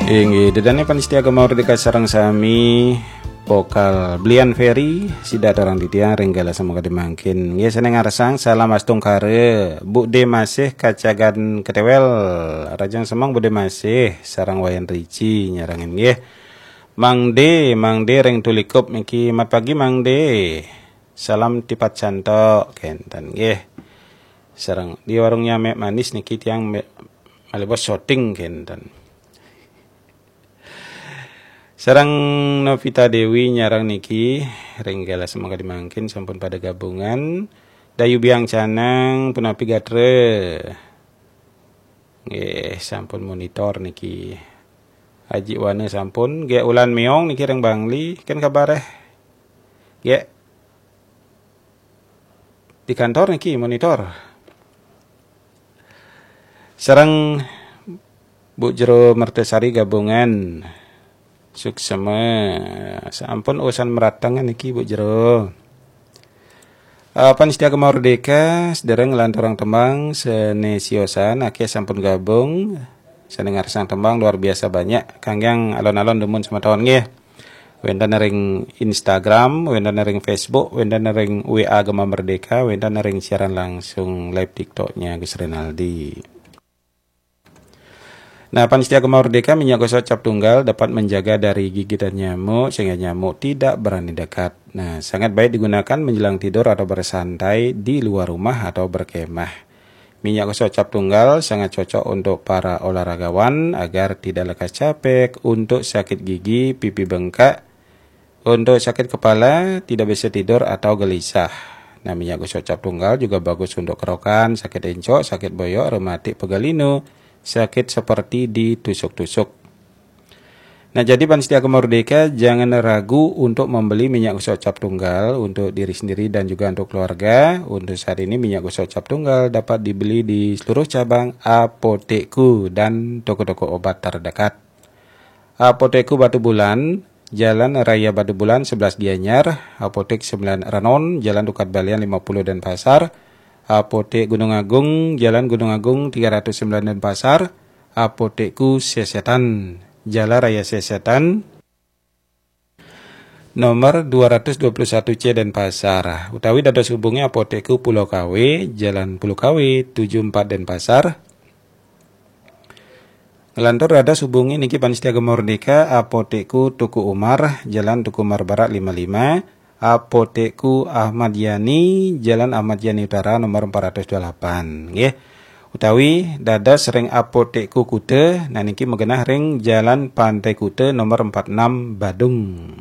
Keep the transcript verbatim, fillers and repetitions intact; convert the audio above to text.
Inggih, dedane pamiarsa Gema Merdeka sareng sami, pokal Blian Ferry, sida aturang titiang ring galah samangkadi mangkin. Nggih, saking ngarsang salam astungkara, Bu De Masih Kacagan Ketewel, Rajang Semeng Bu De Masih, sareng Wayan Rici nyarengin nggih. Mang De, Mang De ring Tulikup niki, mat pagi Mang De. Salam tipat santo kenten nggih. Sareng di warungnya Mek Manis niki tiang me-, malih bos syuting kenten. Sareng Novita Dewi nyareng niki ring galah samangkadi mangkin sampun pada gabungan. Dayu Biang Canang punapi gatra. Nggih, sampun monitor niki. Haji Wana sampun, nggih Ulan Meong niki ring Bangli, kan kabareh. Nggih. Di kantor niki monitor. Sareng Bu Jero Mertasari gabungan. Suksma. Sampun usan meratengan niki Bu Jero. Apan setia Gema Merdeka, sedereng nglanturang tembang sane siosan, akeh sampun gabung. Sane ngarsang tembang luar biasa banyak. Kangge alon-alon dumun semeton nggih. Wenten ring Instagram, wenten ring Facebook, wenten ring W A Gema Merdeka, wenten ring siaran langsung live TikToknya Gus Renaldi. Nah, pamiarsa Gema Merdeka, minyak gosok cap tunggal dapat menjaga dari gigitan nyamuk sehingga nyamuk tidak berani dekat. Nah, sangat baik digunakan menjelang tidur atau bersantai di luar rumah atau berkemah. Minyak gosok cap tunggal sangat cocok untuk para olahragawan agar tidak lekas capek, untuk sakit gigi, pipi bengkak, untuk sakit kepala, tidak bisa tidur atau gelisah. Nah, minyak gosok cap tunggal juga bagus untuk kerokan, sakit encok, sakit boyok, rematik, pegal linu, sakit seperti ditusuk-tusuk. Nah, jadi pamiarsa Gema Merdeka, jangan ragu untuk membeli minyak gosok cap tunggal untuk diri sendiri dan juga untuk keluarga. Untuk saat ini minyak gosok cap tunggal dapat dibeli di seluruh cabang Apotekku dan toko-toko obat terdekat. Apotekku Batubulan, Jalan Raya Batubulan sebelas Gianyar, Apotek sembilan Renon, Jalan Tukad Balian lima puluh Denpasar, Apotek Gunung Agung, Jalan Gunung Agung tiga ratus sembilan Denpasar, Apotekku Sesetan, Jalan Raya Sesetan, nomor dua ratus dua puluh satu C Denpasar, utawi dados hubungi Apotekku Pulau Kawe, Jalan Pulau Kawe tujuh empat Denpasar. Nglantur dados hubungi niki pamiarsa Gema Merdeka, Apotekku Teuku Umar, Jalan Teuku Umar Barat lima lima, Apotekku Ahmad Yani, Jalan Ahmad Yani Utara nomor empat ratus dua puluh delapan, nggih. Utawi dados ring Apotekku Kuta, nah niki magenah ring Jalan Pantai Kuta nomor empat enam Badung.